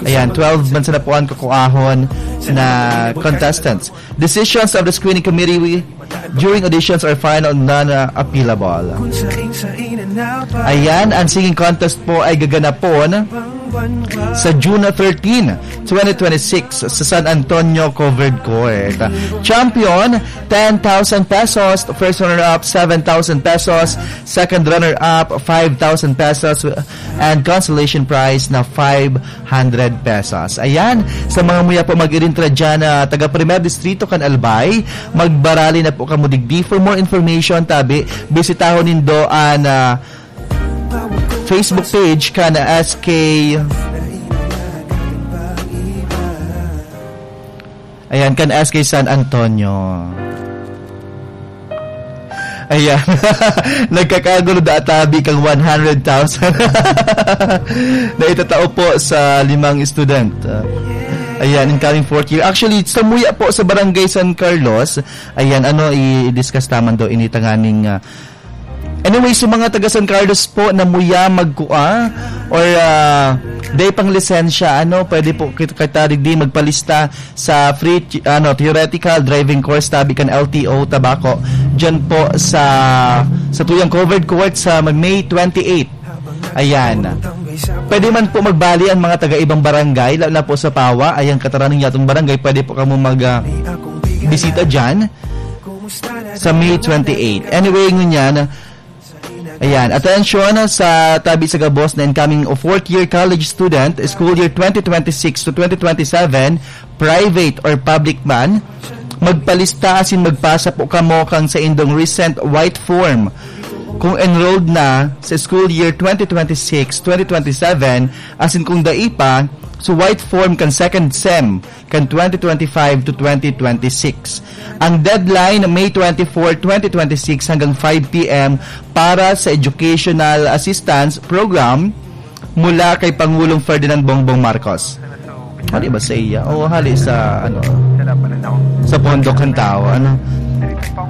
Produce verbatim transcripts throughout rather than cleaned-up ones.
Ayan, twelve man sila po ang kukuahon na contestants. Decisions of the screening committee during auditions are final, non-appealable. Ayan, ang singing contest po ay gaganapon sa June thirteen, twenty twenty-six sa San Antonio Covered Court. Champion, ten thousand pesos. First runner-up, seven thousand pesos. Second runner-up, five thousand pesos. And consolation prize na five hundred pesos. Ayan, sa mga muya po mag-irintra dyan na taga Primer Distrito kan Albay, magbarali na po kamo digdi. For more information, tabi, bisitahon nindo an, ah, Facebook page kan S K. Ayan, kan S K San Antonio. Ayan. Nagkakagulo da tabi kang one hundred thousand na itatao po sa limang student. Ah, ayan, incoming fourth year. Actually, sa muya po sa Barangay San Carlos, ayan, ano, i-discuss naman daw ini tanganing, ah, anyway, sa mga taga San Carlos po na muya magkua or, ah, day pang lisensya, ano, pwede po kit-, kita digdi magpalista sa free, ano, theoretical driving course tabi kan L T O Tabaco. Diyan po sa, sa tuyang covered court sa May twenty-eight. Ayan. Pwede man po magbali ang mga taga ibang barangay, lalo na po sa Pawa. Ayan, kataran ng yatong barangay, pwede po kamo mag, ah, bisita dyan sa May twenty-eight. Anyway, ngunyan, ayan, atensyon sa tabi sa gabos na incoming o fourth year college student, school year twenty twenty-six to twenty twenty-seven, private or public man, magpalista asin magpasa po kamo kang saindong recent white form kung enrolled na sa school year twenty twenty-six, twenty twenty-seven, asin kung dai pa, sa white form kan second sem kan twenty twenty-five to twenty twenty-six. Ang deadline, May twenty-four, twenty twenty-six hanggang five P M para sa Educational Assistance Program mula kay Pangulong Ferdinand Bongbong Marcos. Hali ba sa iya? O hali sa, ano, sa pondo kan tao? Ano?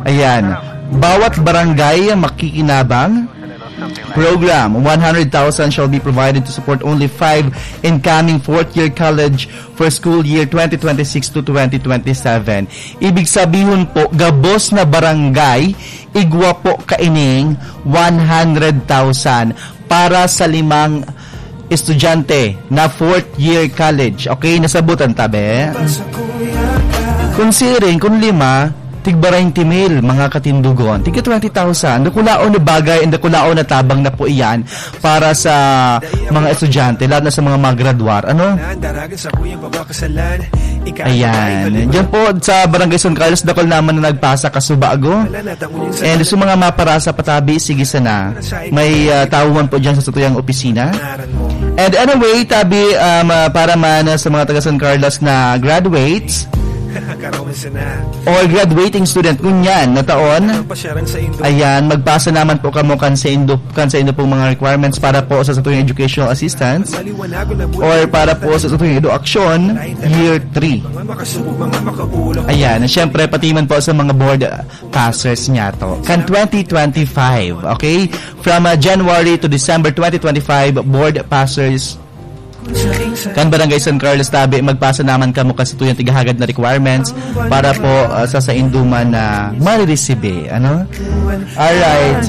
Ayan. Bawat barangay makikinabang. Program, one hundred thousand shall be provided to support only five incoming fourth-year college for school year twenty twenty-six to twenty twenty-seven. Ibig sabihon po, gabos na barangay, igwa po kaining one hundred thousand para sa limang estudyante na fourth year college. Okay, nasabutan ta, be? Kung siring, kung lima, tigba twenty mil, mga katindugon. Tigka twenty thousand. Dakulaon na bagay, ang dakulaon na tabang na po iyan para sa mga estudyante, lalo na sa mga magradwar. Ano? Ayan. Diyan po sa Barangay San Carlos, dakul naman na nagpasa kasubago. And sa mga maparasa patabi, sige sana. May, ah, tawo man po dyan sa satuyang opisina. And anyway, tabi, um, ah, para man sa mga taga San Carlos na graduates or graduating student ngunyan na taon, ayan, magpasa naman po kamo kan saindo, kan saindo pong mga requirements para po sa satuyang educational assistance or para po sa satuyang education year three. Ayan, siyempre, pati man po sa mga board passers niyato. Kan twenty twenty-five, okay? From, uh, January to December twenty twenty-five, board passers kan Barangay San Carlos Tabi, magpasa naman kamo kan satuyang tighahagad na requirements para po, uh, sa saindo man na mariresibe, ano? Alright.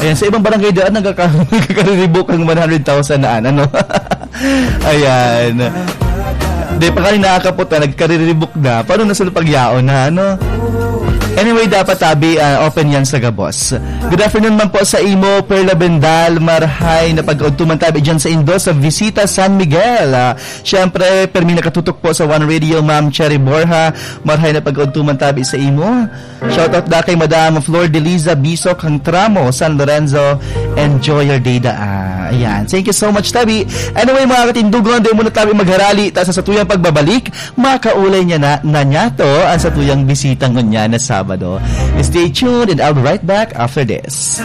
Ayan, sa ibang barangay daan, nagkaka-, nagkakariribok ang one hundred thousand na, ano? Ayan. Di pa kayo nakakapot na, nagkariribok na. Paano na sila pagyaon na, ano? Anyway, dapat tabi, ah, open yan sa gabos. Good afternoon man po sa imo, Perla Bendal, marhay na pag-udtuman tabi dyan sa indo sa Visita San Miguel. Ah, syempre, permi nakatutok po sa One Radio, Ma'am Cherry Borja, marhay na pag-udtuman tabi sa imo. Shoutout da kay Madam Flor Deliza Bisok, Hang Tramo, San Lorenzo. Enjoy your day, da. Ah, ayan. Thank you so much, tabi. Anyway, mga katindugon, di muna tabi magharali. Ta sa satuyang pagbabalik, makaulay niya na, na niya to ang satuyang bisita ngunyan na Sabado. Stay tuned and I'll be right back after this.